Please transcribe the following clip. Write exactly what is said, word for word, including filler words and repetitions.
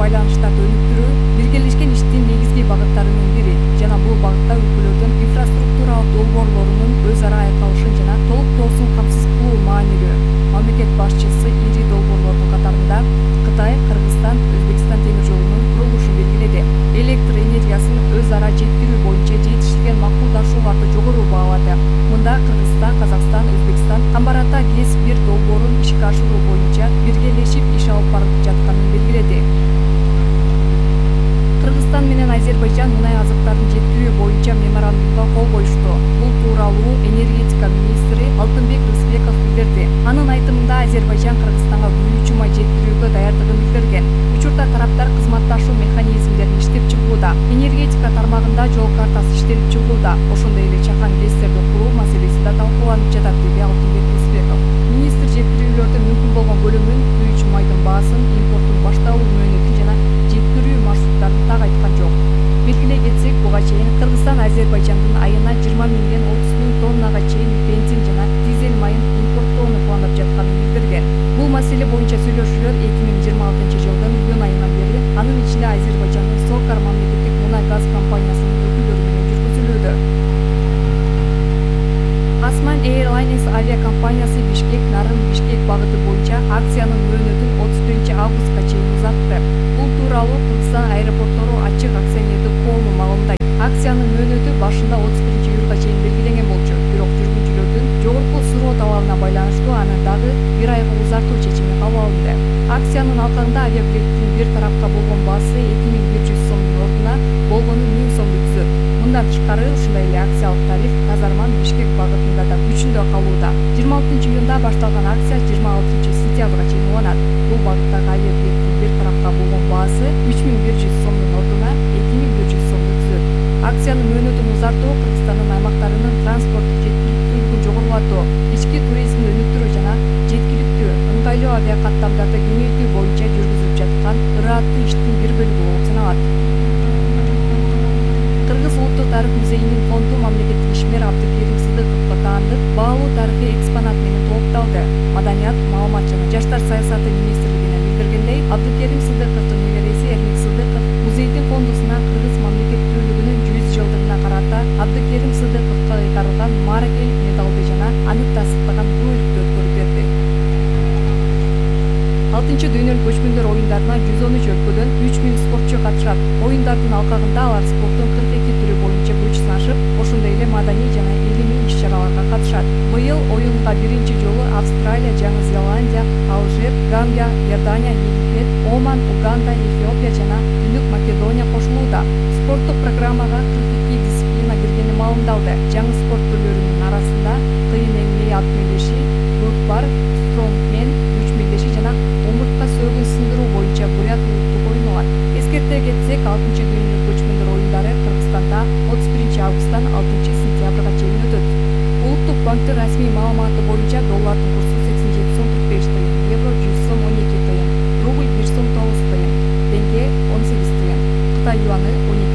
байланыштарды өнүктүрүү биргелешкен иштин негизги багыттарынын бири жана бул багытта өлкөлөрдүн инфраструктуралык долбоорлорунун өз ара айкалышын жана толуктоосун камсыз кылуу маанилүү. Мамлекет башчысы ири долбоорлордун катарында Кытай, Кыргызстан, Өзбекстан темир жолунун курулушун белгиледи. Электр энергиясын өз ара жеткирүү боюнча жетишилген макулдашууларды жогору баалады. Мында Кыргызстан, Казакстан, Өзбекстан Камбар Ата ГЭС бир долбоорун ишке ашыруу боюнча биргелешип иш алып барып жатканын белгиледи. Кыргызстан менен Азербайжан мунай азыктарын жеткирүү боюнча меморандумга кол коюшту. Бул тууралуу энергетика министри Алтынбек Рысбеков билдирди. Анын айтымында Азербайжан Кыргызстанга күйүүчү май жеткирүүгө даярдыгын билдирген. Учурда тараптар кызматташуу механизмдерин иштеп чыгууда. Энергетика тармагында жол картасы иштелип чыгууда. Ошондой эле чакан ГЭСтерди куруу маселеси да талкууланып жатат, деди Алтынбек Рысбеков. Министр жеткирүүлөрдүн мүмкүн болгон бөлүмүн, күйүүчү майдын баасын, импорттун башталуу мөөнөтүн жана жеткирүү маршруттарын так айткан жок. Белгилей кетсек, буга чейин Кыргызстан Азербайжандын айына жыйырма миңден отуз миң тоннага чейин бензин жана дизель майын импорттоону пландап жатканын билдирген. Бул маселе боюнча сүйлөшүүлөр эки миң жыйырма алтынчы жылдын июнь айынан бери анын ичинде Азербайжандын Сокар мамлекеттик мунай газ компаниясынын өкүлдөрү менен жүргүзүлүүдө. Осman Airlines авиакомпаниясы Бишкек-Нарын-Бишкек багыты боюнча акциянын мөөнөтүн отуз биринчи августка чейин узартты. Бул тууралуу Кыргызстан аэропорттору ачык акционердик коому маалымдайт. Акциянын мөөнөтү башында отуз биринчи июлга чейин белгиленген болчу, бирок жүргүнчүлөрдүн жогорку суроо талабына байланыштуу аны дагы бир айга узартуу чечими кабыл алынды. Акциянын алкагында авиабилеттин бир тарапка болгон баасы эки миң бир жүз сомдун ордуна болгону миң сомду түзөт. Мындан тышкары ушундай эле акциялык тариф Казарман Бишкек багытында да күчүндө калууда. жыйырма алтынчы июнда башталган акция жыйырма алтынчы сентябрга чейин уланат. Бул багыттагы авиабилеттин бир тарапка болгон баасы үч миң бир жүз сомдун ордуна эки миң бир жүз сомду түзөт. Акциянын мөөнөтүн узартуу Кыргызстандын аймактарынын транспорттук жеткиликтүүлүгүн жогорулатуу, ички туризмди өнүктүрүү жана жеткиликтүү, ыңгайлуу авиакаттамдарды кеңейтүү боюнча жүргүзүлүп жаткан ырааттуу иштин бир бөлүгү болуп саналат. Кыргыз улуттук тарых музейинин фонду мамлекеттик ишмер Абдыкерим Сыдыковго таандык баалуу тарыхый экспонат менен толукталды. Маданият, маалымат жана жаштар саясаты министрлигинен билдиргендей, Абдыкерим Сыдыковдун небереси Эрмек Сыдыков музейдин фондусуна кыргыз мамлекеттүүлүгүнүн жүз жылдыгына карата Абдыкерим Сыдыковго кайtarылган мааракелик медалды жана аны тастыктаган роликтти өткөрүп берди. алтынчы дүйнөлүк көчмөндөр оюндарына жүз он үч өлкөдөн үч миң спортчу катышат. Оюндардын алкагында алар спорттун кырк эки түрү боюнча күч сынашып, ошондой эле маданий жана илимий иш-чараларга катышат. Быйыл оюнга биринчи жолу Австралия, Жаңы Зеландия, Алжир, Гамбия, Иордания, Египет, Оман, Уганда, Эфиопия жана Түндүк Македония кошулууда. Спорттук программага кырк эки дисциплина киргени маалымдалды. Жаңы спорт түрлөрүнүн арасында кыйын эмне ат мелеши, көкпар, стронгмен, күч мелеши жана омуртка сөөгүн сындыруу боюнча бурят улуттук оюн алат. Эскерте кетсек, алтынчы дүйнөлүк көчмөндөр оюндары Кыргызстанда отуз биринчи августтан алтынчы сентябрга чейин өтөт. Улуттук банктын расмий маалыматы боюнча доллардын курсу сексен жети сом кырк беш тыйын, евро жүз сом он эки тыйын, рубль бир сом тогуз тыйын, теңге он сегиз тыйын, Кытай юаны он эки